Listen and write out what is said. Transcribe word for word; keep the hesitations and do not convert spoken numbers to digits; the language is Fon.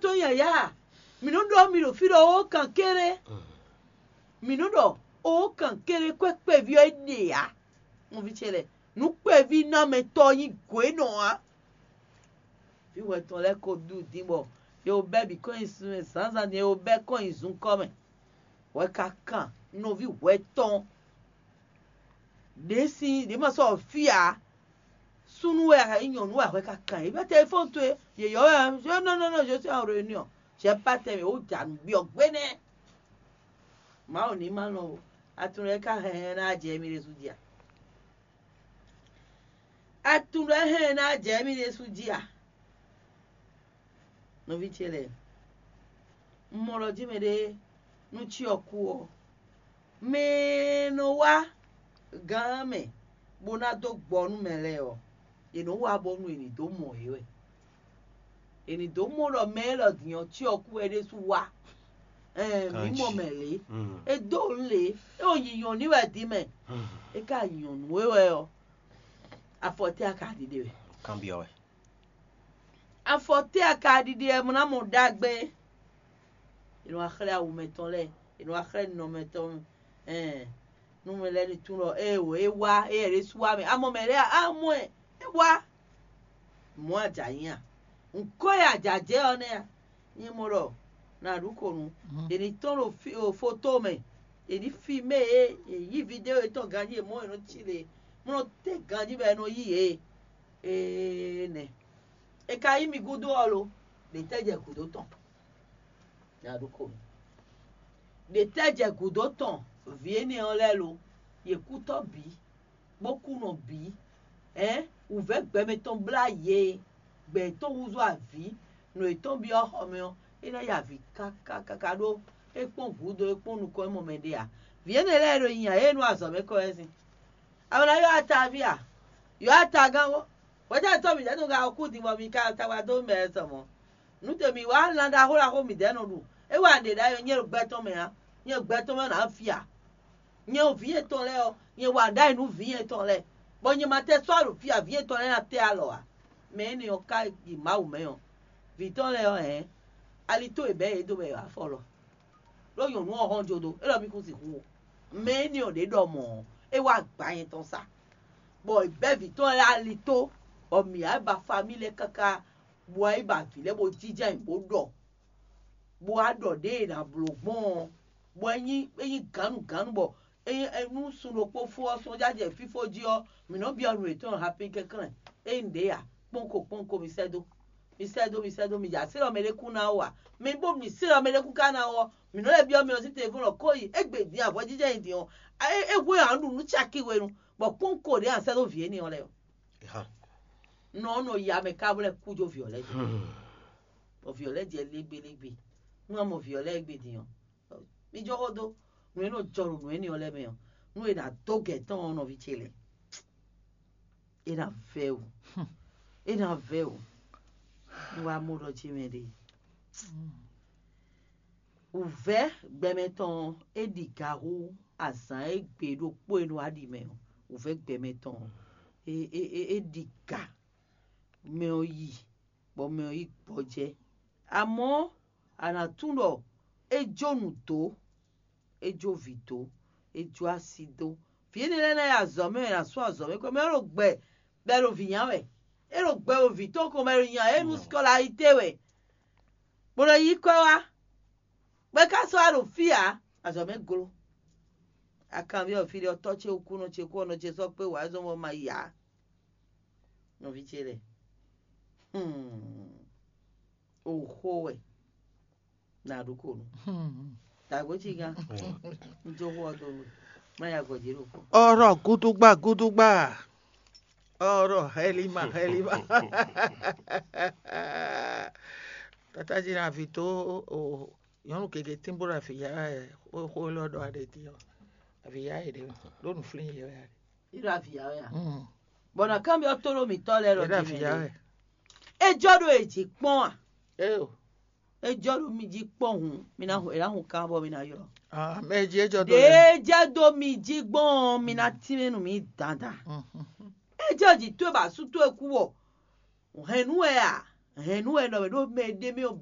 Tó yǎyá, mǐ nɔ́ ɖɔ mi ɖo fí ɖɔ ó kan kéré. Mǐ nɔ́ ɖɔ ó kan kéré kwɛ́ kpɛví ɔ́ é ɖe ǎ. Nɔví ce lɛ́ɛ, nǔ kpɛví ná mɛ tɔn nyí gǒ e nɔ ǎ. Vǐ wɛ tɔn lɛ́ɛ ko ɖu din bɔ è wo bɛ́ bǐ kɔn nyi sun mɛ zǎnzǎn din, è wo bɛ́ kɔn nyi zunkɔ́ mɛ. Hwɛ ka kan nɔví hwɛ tɔn ɖě sín ɖě ma sɔ́ fí ǎ. Súnnu wɛ a nyí nyɔ̌nu wɛ hwɛ ka kan yě bɛ́ tɛ́ fɔ́n towe yě yɔ́ wɛ ǎ. Nɔ nɔ nɔ je suis en réunion. J'ai pas tɛmɛ ó ja nǔ byɔ́ gbé nɛ́. Mawu ní ma nɔ o. Atunɖe ka hɛn ná jɛ mi ɖésú jí a? Atunɖe hɛn ná jɛ mi ɖésú jí a? Nɔví ce lɛ́ɛ, un mɔ ɖɔ jí mɛɖé nú cyɔ kú ɔ́, mɛ e nɔ wá gán mɛ bó ná dó gbɔ nú mɛ lɛ́ɛ ɔ́, è nɔ wá bónú è nǐ dó mɔ yě wɛ. È nǐ dó mɔ ɖɔ mɛ élɔ́ din ɔ́, cyɔ kú wɛ é ɖésú wá. Ɛɛn, mǐ mɔ mɛ lě. É dó nǔ lě, é wo nyi nyɔ̌nu wɛ din mɛ. É ka nyɔ̌nu é wɛ ɔ́, afɔ tɛ́ a ka ɖiɖe wɛ? Kanbyɔ́ wɛ. Afɔ tɛ́ a ka ɖiɖe wɛ mɔ ná mɔ ɖagbe? È nɔ wá xlɛ́ awu mɛtɔn lɛ́ɛ, è nɔ wá xlɛ́ nɔ mɛtɔn. Ɛɛn, nú mɛ lɛ́ɛ ní tunwun ɖɔ ée wǒ é wá, éyɛ́ ɖésú wá mɛ. A mɔ mɛ lɛ́ɛ a? A mɔ ɛ, é wá. Mɔ̌ a jǎ nyí a? Nǔkɔ e a jǎ jɛ ɔ́ nɛ́ a? Nyɛ mɔ ɖɔ nǎ ɖu xo nú. È nǐ tɔ́n ɖo fí- ɖo foto mɛ, è nǐ filmé yě, è yí vidéo yětɔn ganjí, è mɔ è nɔ cí lě, mɔ nɔ tɛ́ ganjí bɔ è nɔ yí yě. Ee nɛ. È ka yí mi gúdo ɔ́ lo? Ɖě tɛ́ jɛ gǔdo tɔn? Nya ɖokpó mi. Ɖě tɛ́ jɛ gǔdo tɔn? Vǐ énɛ́ ɔ́ lɛ́ɛ lo? Yě kú tɔ́ bǐ, bó kú nɔ bǐ. Ɛ̌n, wǔvɛ́ gbɛmɛ tɔn blá yě, gbɛ yětɔn húzú avǐ, nǔ yětɔn byɔ́ xɔ mɛ ɔ́, é ná yi avǐ káká káká ɖó é kpɔ́n gǔdo, é kpɔ́n nukɔn, é mɔ mɛ ɖé ǎ. Vǐ énɛ́ lɛ́ɛ ɖo nyi ǎ, yě e nú azɔ̌ mɛ kɔ wɛ sín. A nǎ ylɔ́ atavía? Ylɔ́ atagán ó. Hwɛ̌tɛ́ tɔn mǐdɛɛ tɔn ka kú din bɔ mi ka tawa dó mɛ sɔ mɔ̌? Nǔ te mǐ wá lan ɖaxó ɖaxó mǐdɛɛ nɔ ɖu. É wa ɖě ɖ'ayǐ ɔ́, nyɛ ɖo gbɛ tɔn mɛ ǎ. Nyɛ ɖo gbɛ tɔn mɛ ɔ́, nǎ fi a? Nyɛ ɖo vǐ yětɔn lɛ́ɛ ɔ́, nyɛ wa ɖ'ayǐ nú vǐ yětɔn lɛ́ɛ, bɔ nyɛ ma tɛ sɔ́ ɖo fí a, vǐ yětɔn lɛ́ɛ ná tɛ alɔ ǎ. Mɛ énɛ́ ɔ́ ka yi Mawu mɛ ɔ́, vǐ tɔn lɛ́ɛ ɔ́ hɛ̌n, ali tó e bɛ̌ yě dó bɔ è wǎ fɔ lɔ. Ɖó nyɔ̌nu ɔ́ hɔn jó dó, é ɖɔ mì kún sixú o. Mɛ énɛ́ ɔ́ ɖě ɖɔ mɔ̌ ɔ́, é wá gbǎ nyɛ tɔn sa, bɔ è bɛ́ vǐ tɔn lɛ́ɛ ali tó, bɔ mǐ wá ba famíli lɛ́ɛ káká, bó wá yi ba vǐ lɛ́ɛ bó jínjɔ́n ayǐ bó ɖɔ, bó wá ɖɔ ɖěe è nǎ bló gbɔn ɔ́, bɔ é nyí é nyí gǎnnugǎnnu bɔ é nyí é nú sun ɖokpó fó ɔ́ sɔ́ jajɛ fífó jí ɔ́, mǐ nɔ́ byɔ́ nǔ yětɔn hapi kɛnklɛ́n. Ényí ɖě ǎ, kpɔ́nko kpɔ́nko mi sɛ́ dó, mi sɛ́ dó, mi sɛ́ dó, mi jɛ así ɖɔ mɛɖé kú ná wú ǎ. Mi bó mi sí ɖɔ mɛɖé kú ka ná wú ɔ́, mǐ nɔ́ lɛ́ byɔ́ mi ɔ́ sí telefɔ́n ɖɔ kó yi, égbé din avɔjíjɛ nyi din ɔ́, é é hwe ǎ ɖu nǔ caki hwenu, bɔ kpɔ́nko ɖě a sɛ́ dó vǐ énɛ́ ɔ́ lɛ́ɛ ɔ́. Nɔ ɔ́ nɔ ya mɛ ká bó lɛ́ kú jó vǐ ɔ́ lɛ́ɛ jí. Bɔ vǐ ɔ́ lɛ́ɛ jɛ légbélégbé. Nú a mɔ vǐ ɔ́ lɛ́ɛ égbé din ɔ́, mi jɔ xó dó nǔ e nɔ jɔ ɖo nǔ énɛ́ ɔ́ lɛ́ɛ mɛ ɔ́, nú è nǎ dó gɛ̌ tɔn ɔ́ nɔví ce lɛ́ɛ, é ná vɛ́ wǔ. É ná vɛ́ wǔ. Un wá mɔ ɖɔ ce mɛ ɖe. Wǔvɛ́ gbɛmɛ tɔn ɔ́, é ɖi ga hú azǎn e gbe ɖokpó e nɔ wá ɖi mɛ ɔ́. Wǔvɛ́ gbɛmɛ tɔn ɔ́, é é é é ɖi ga mɛ ɔ́ yi, bɔ mɛ ɔ́ yi gbɔjɛ́. Amɔ̌, a nǎ tunwun ɖɔ é jó nǔ dó, é jó vǐ dó, é jó asi dó. Vǐ énɛ́ lɛ́ɛ ná yi azɔ̌ mɛ, è nǎ sú azɔ̌ mɛ kɔ mɛ, é ɖo gbɛ bɔ è ɖo vǐ nya wɛ. É ɖo gbɛ ɖo vǐ tɔn ko mɛ, è ɖo nya é nú sikolayité wɛ, bó nɔ yí kwɛ́ wá. Bɔ é ka sɔ́ wá ɖo fí ǎ, azɔ̌ mɛ glo. Akanví ɔ́, fí ɖé ɔ́, tɔ́ ce kú, nɔ ce kú, nɔ ce sɔ́ kpé wǎ, é zɔ́n bɔ ma yi ǎ. Nɔví ce lɛ́ɛ, hmm, oxó wɛ. Na ɖu ko nu. Dǎgbó cí gán. Un jó xó ɔ́ dó nú má ya gɔ̌ jí ɖokpó. Ɔrɔ gúdúgbà gúdúgbà. Ɔrɔ hɛlima hɛlima. Tata jí na vǐ tó o nyɔ̌nu gěgé tínbó ɖo avǐ ya wɛ xó élɔ́ ɖɔ aɖe din ɔ́. Avǐ ya yě ɖe ɖó nǔ flín yě wɛ aɖe. Í ɖo avǐ ya wɛ a? Bɔ na kanbyɔ́ tónú mǐtɔn lɛ́ɛ ɖɔ Yě ɖo avǐ ya wɛ. É jɔ ɖo è jí kpɔ́n a? Éyo. É jɔ ɖo mi jí kpɔ́n hǔn, mi ná hu, è nǎ hun kan bɔ mi ná ylɔ́. Ah, mɛ jí é jɔ dó Ɖě lɛ. É jɛ dó mi jí gbɔn ɔ́, mi ná tínmɛ nú mi dandan. É jɛ jǐ towe bɔ asú towe kú wɔ. Hɛ̌nnu wɛ a? Hɛ̌nnu wɛ nɔ mɛ ɖó mɛ ɖé mɛ ɔ́